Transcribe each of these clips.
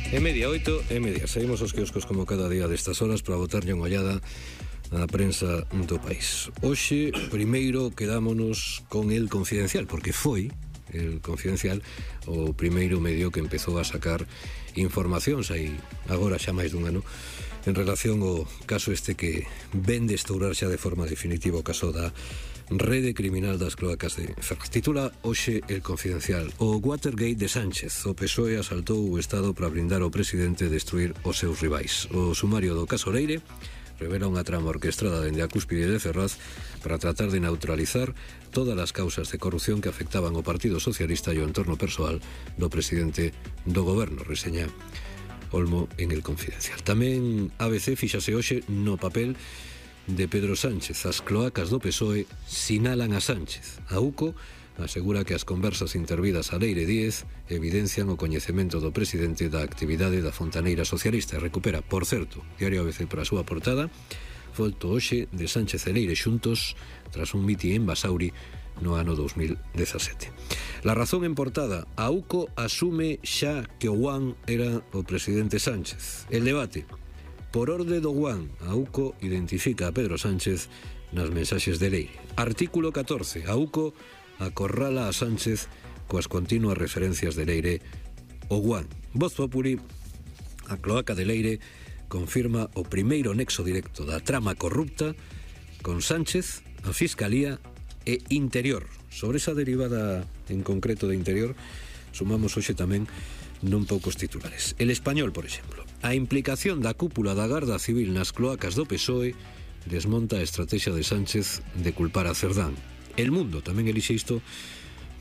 É media 8, é media. Saímos aos quioscos como cada día destas horas para botarlle unha ollada á prensa do país. Hoxe, primeiro, quedámonos con El Confidencial, porque foi El Confidencial o primeiro medio que empezou a sacar informacións aí agora xa máis dun ano en relación ao caso este que ven de estourar xa de forma definitiva o caso da rede criminal das cloacas de Ferraz. Titula hoxe El Confidencial: o Watergate de Sánchez. O PSOE asaltou o Estado para blindar ao presidente e destruir os seus rivais. O sumario do caso Leire revela unha trama orquestrada dende a cúspide de Ferraz para tratar de neutralizar todas as causas de corrupción que afectaban ao Partido Socialista e o entorno persoal do presidente do goberno, reseña Olmo en El Confidencial. Tamén ABC fíxase hoxe no papel de Pedro Sánchez. As cloacas do PSOE sinalan a Sánchez. A UCO asegura que as conversas intervidas a Leire Díez evidencian o coñecemento do presidente da actividade da fontaneira socialista e recupera, por certo, Diario ABC para a súa portada, foto hoxe de Sánchez e Leire xuntos tras un mitin en Basauri no ano 2017. La Razón en portada: a UCO asume xa que o Guan era o presidente Sánchez. El Debate: por orde do Guan, a UCO identifica a Pedro Sánchez nas mensaxes de Leire. Artículo 14. A UCO acorrala a Sánchez coas continuas referencias de Leire o Guan. Voz Populi: a cloaca de Leire confirma o primeiro nexo directo da trama corrupta con Sánchez, a Fiscalía e Interior. Sobre esa derivada en concreto de Interior sumamos hoxe tamén non poucos titulares. El Español, por exemplo: a implicación da cúpula da Garda Civil nas cloacas do PSOE desmonta a estrategia de Sánchez de culpar a Cerdán. El Mundo tamén elixe isto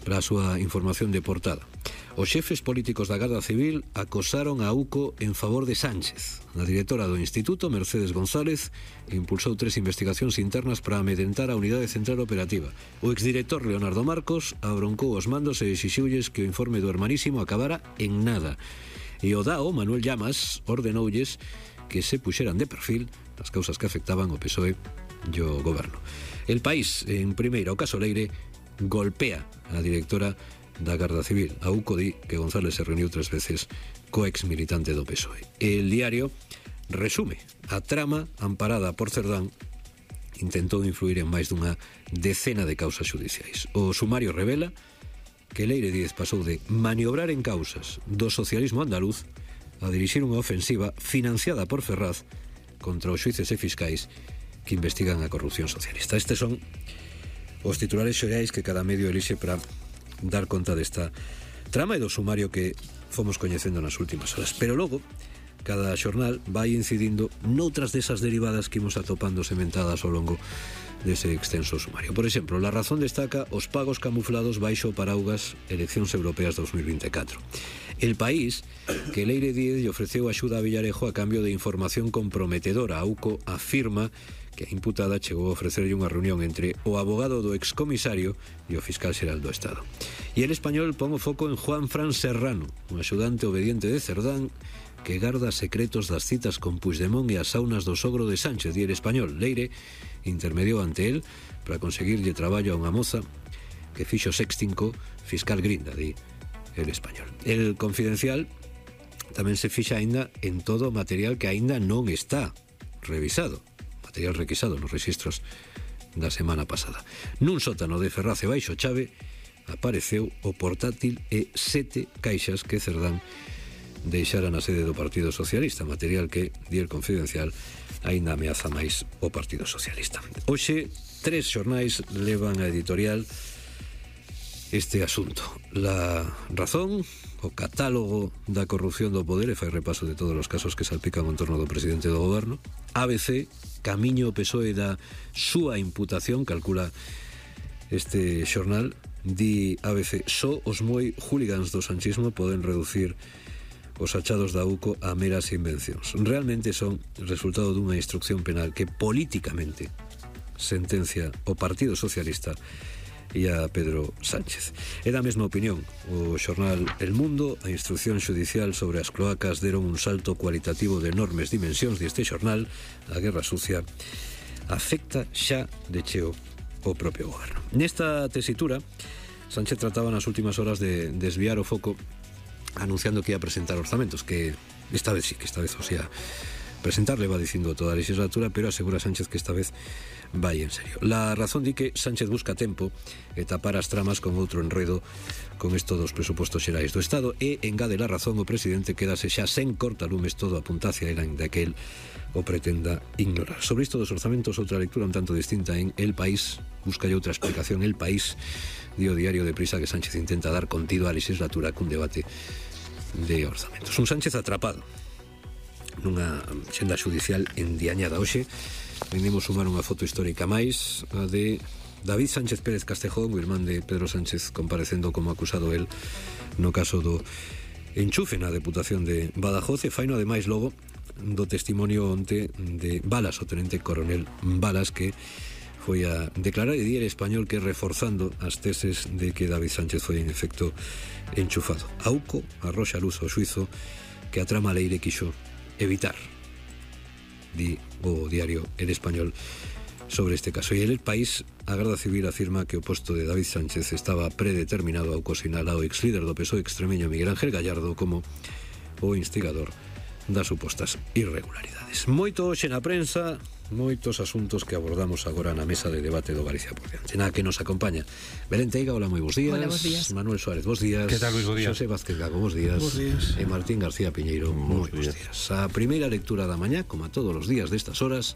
para a súa información de portada. Os xefes políticos da Garda Civil acosaron a UCO en favor de Sánchez. A directora do Instituto, Mercedes González, impulsou 3 investigacións internas para amedrentar a Unidade Central Operativa. O exdirector Leonardo Marcos abroncou os mandos e exixiulles que o informe do Hermanísimo acabara en nada. E o DAO, Manuel Llamas, ordenolles que se puxeran de perfil as causas que afectaban o PSOE e o goberno. El País, en primeiro, o caso Leire golpea a directora da Garda Civil. A UCO di que González se reuniu 3 veces co ex militante do PSOE. El Diario resume: a trama amparada por Cerdán intentou influir en máis dunha decena de causas xudiciais. O sumario revela que Leire Díez pasou de maniobrar en causas do socialismo andaluz a dirixir unha ofensiva financiada por Ferraz contra os xuíces e fiscais que investigan a corrupción socialista. Estes son os titulares xerais que cada medio elixe para dar conta desta trama e do sumario que fomos coñecendo nas últimas horas. Pero logo, cada xornal vai incidindo noutras desas derivadas que imos atopando sementadas ao longo dese extenso sumario. Por exemplo, La Razón destaca os pagos camuflados baixo o paraugas Eleccións Europeas 2024. El País, que Leire Díez lle ofreceu axuda a Villarejo a cambio de información comprometedora. A UCO afirma que a imputada chegou a ofrecerlle unha reunión entre o abogado do excomisario e o fiscal xeral do Estado. E El Español pon o foco en Juan Fran Serrano, un axudante obediente de Cerdán que garda secretos das citas con Puigdemont e as saunas do sogro de Sánchez. E El Español: Leire intermediou ante él para conseguirlle traballo a unha moza que fixo sexting co fiscal Grinda, di El Español. El Confidencial tamén se fixa aínda en todo o material que aínda non está revisado, material requisado nos registros da semana pasada. Nun sótano de Ferraz e baixo chave apareceu o portátil e 7 caixas que Cerdán deixara na sede do Partido Socialista, material que, di El Confidencial, aínda ameaza máis o Partido Socialista. Hoxe, 3 xornais levan a editorial este asunto. La Razón, o catálogo da corrupción do poder, e fai repaso de todos os casos que salpican o entorno do presidente do goberno. ABC, camiño o PSOE da súa imputación, calcula este xornal. Di ABC: só os moi hooligans do sanchismo poden reducir os achados da UCO a meras invencións. Realmente son resultado dunha instrucción penal que políticamente sentencia o Partido Socialista e a Pedro Sánchez. É da mesma opinión o xornal El Mundo. A instrucción xudicial sobre as cloacas deron un salto cualitativo de enormes dimensións deste xornal. A guerra sucia afecta xa de cheo o propio goberno. Nesta tesitura, Sánchez trataba nas últimas horas de desviar o foco anunciando que ia presentar orzamentos, que esta vez sí, que esta vez o sea presentarle, va dicindo toda a legislatura, pero asegura Sánchez que esta vez vai en serio. La razón di que Sánchez busca tempo e tapar as tramas con outro enredo con isto dos presupostos xerais do Estado, e engade la razón o presidente quedase xa sen cortalumes, todo apunta hacia el, ainda que el o pretenda ignorar. Sobre isto dos orzamentos, outra lectura un tanto distinta en El País, busca outra explicación. El País dio diario de prisa que Sánchez intenta dar contido á legislatura cun debate de orzamentos. Un Sánchez atrapado nunha xenda judicial endiañada. Hoxe vendimos sumar unha foto histórica máis, a de David Sánchez Pérez Castejón, o irmán de Pedro Sánchez, comparecendo como acusado el no caso do enchufe na Deputación de Badajoz, e faino ademais logo do testimonio onte de Balas, o tenente coronel Balas, que foi a declarar e di El Español que reforzando as teses de que David Sánchez foi en efecto enchufado. Auco arroxa luz ao xuizo que a trama Leire quixo evitar, di o diario El Español sobre este caso. E El País, a Garda Civil afirma que o posto de David Sánchez estaba predeterminado ao sinalado ex líder do PSOE extremeño Miguel Ángel Gallardo como o instigador das supostas irregularidades. Moito hoxe na prensa, moitos asuntos que abordamos agora na mesa de debate do Galicia por diante. Nada que nos acompaña Belén Teiga, hola, moi bons días. Hola, bons días. Manuel Suárez, bons días. Que tal, Luis, bons días. Xosé Vázquez Gago, bons días. Bons días. E Martín García Piñeiro, moi bons días. A primeira lectura da mañá, como a todos os días destas horas,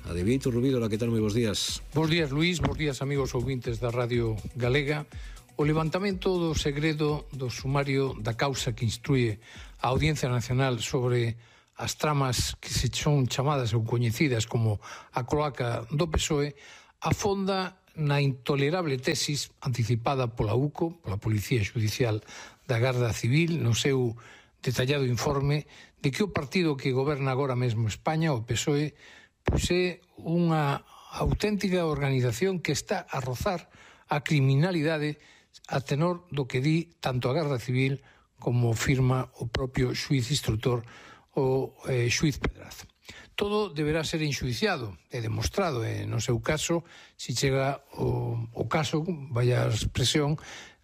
a de Vieito Rubido. Hola, que tal, moi bons días. Bons días, Luís, bons días, amigos ouvintes da Radio Galega. O levantamento do segredo do sumario da causa que instrúe a Audiencia Nacional sobre as tramas que se son chamadas ou coñecidas como a cloaca do PSOE afonda na intolerable tesis anticipada pola UCO, pola Policía Judicial da Garda Civil, no seu detallado informe de que o partido que goberna agora mesmo España, o PSOE, pois é unha auténtica organización que está a rozar a criminalidade a tenor do que di tanto a Garda Civil como firma o propio xuiz instructor, o xuiz Pedraz. Todo deberá ser enxuiciado e demostrado, e no seu caso, se chega o caso, vaya a expresión,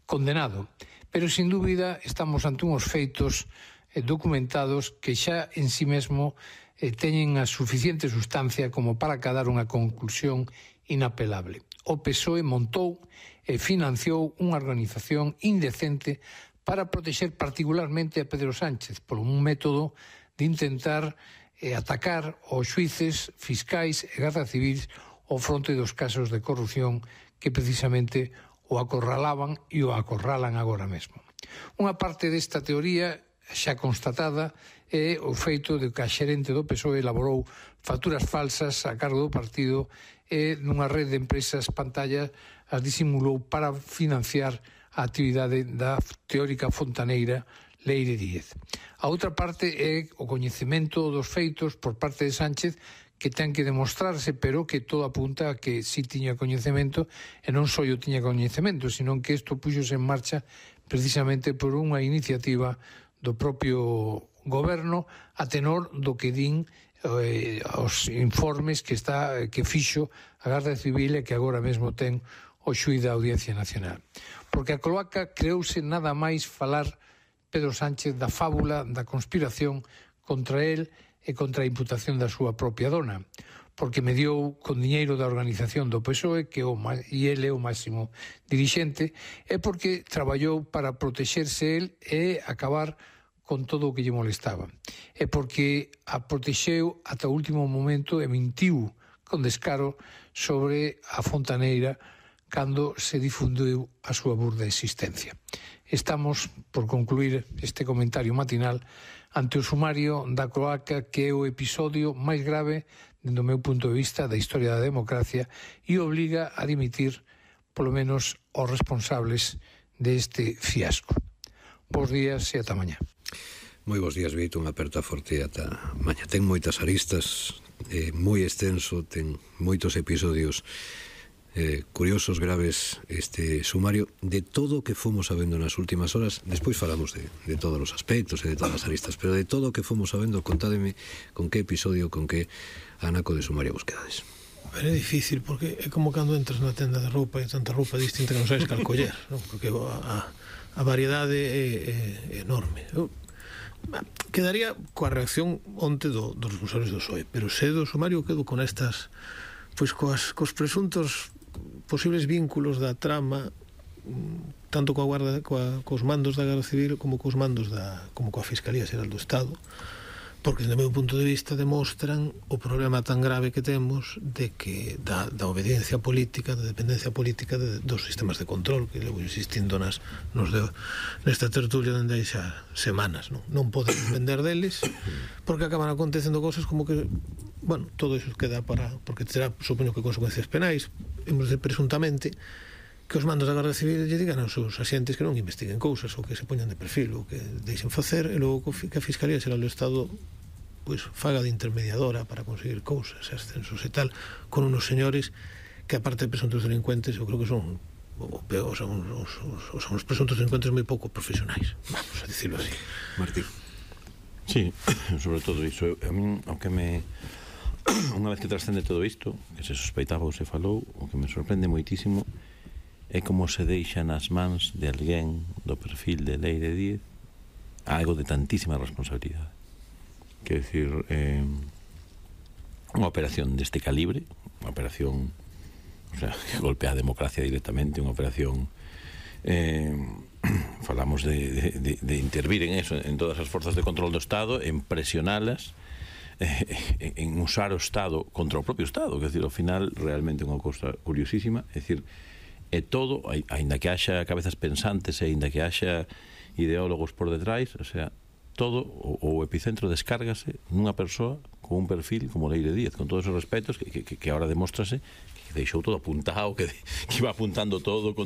condenado. Pero, sin dúbida, estamos ante uns feitos documentados que xa en sí mesmo teñen a suficiente sustancia como para cadar unha conclusión inapelable. O PSOE montou e financiou unha organización indecente para protexer particularmente a Pedro Sánchez por un método de intentar atacar os xuíces, fiscais e garda civis ao fronte dos casos de corrupción que precisamente o acorralaban e o acorralan agora mesmo. Unha parte desta teoría xa constatada é o feito de que a xerente do PSOE elaborou facturas falsas a cargo do partido e nunha rede de empresas pantalla as disimulou para financiar a actividade da teórica fontaneira Leire Díez. A outra parte é o coñecemento dos feitos por parte de Sánchez, que ten que demostrarse, pero que todo apunta a que si tiña coñecemento, e non só o tiña coñecemento, sino que isto puxose en marcha precisamente por unha iniciativa do propio goberno a tenor do que din os informes que fixo a Garda Civil e que agora mesmo ten o xuiz da Audiencia Nacional. Porque a cloaca creouse nada máis falar Pedro Sánchez da fábula da conspiración contra el e contra a imputación da súa propia dona, porque mediou con diñeiro da organización do PSOE e ele é o máximo dirixente, e porque traballou para protexerse el e acabar con todo o que lle molestaba, e porque a protexeu ata o último momento e mentiu con descaro sobre a fontaneira cando se difundiu a súa burda existencia. Estamos, por concluir este comentario matinal, ante o sumario da cloaca, que é o episodio máis grave, dentro do meu punto de vista, da historia da democracia e obliga a dimitir, polo menos, os responsables deste fiasco. Bos días e ata mañá. Moi bons días, Vito, unha aperta forte ata mañá. Ten moitas aristas, moi extenso, ten moitos episodios curiosos, graves, este sumario de todo o que fomos sabendo nas últimas horas. Despois falamos de todos os aspectos e de todas as aristas, pero de todo o que fomos sabendo, contádeme con que episodio, con que anaco de sumario vos quedades. Pero é difícil, porque é como cando entras na tenda de roupa e tanta roupa distinta que non sabes cal coller, non? Porque a variedade é enorme. Eu quedaría coa reacción onte dos responsables do PSOE, pero se do sumario quedo con estas, pois cos presuntos posibles vínculos da trama, tanto cos mandos da Garda Civil como cos mandos como coa Fiscalía Xeral do Estado, porque, desde o meu punto de vista, demostran o problema tan grave que temos de que da obediencia política, da dependencia política dos sistemas de control, que levo insistindo nesta tertulia dende hai xa semanas. Non poden depender deles, porque acaban acontecendo cosas como que, bueno, todo iso queda porque terá, supoño que, consecuencias penais. Hemos de, presuntamente, que os mandos da Garda Civil lle digan aos seus axentes que non investiguen cousas, ou que se poñan de perfil, ou que deixen facer, e logo que a Fiscalía Xeral do Estado pois faga de intermediadora para conseguir cousas, ascensos e tal, con unos señores que, aparte de presuntos delincuentes, eu creo que son os presuntos delincuentes moi pouco profesionais, vamos a dicirlo así. Martín. Sí, sobre todo iso. A min, aunque unha vez que trascende todo isto, que se sospeitaba ou se falou, o que me sorprende moitísimo é como se deixa nas mans de alguén do perfil de Leire Díez algo de tantísima responsabilidade. Quer decir, unha operación deste calibre, unha operación, o sea, que golpea a democracia directamente, unha operación, falamos de intervir en eso, en todas as forzas de control do Estado, en presionalas, en usar o Estado contra o propio Estado, quer decir, ao final, realmente unha cousa curiosísima, é dicir, e todo, aínda que haxa cabezas pensantes e aínda que haxa ideólogos por detrás, o sea, todo o epicentro descárgase nunha persoa con un perfil como Leire Díez, con todos os respetos que agora demóstrase que deixou todo apuntado, que iba apuntando todo con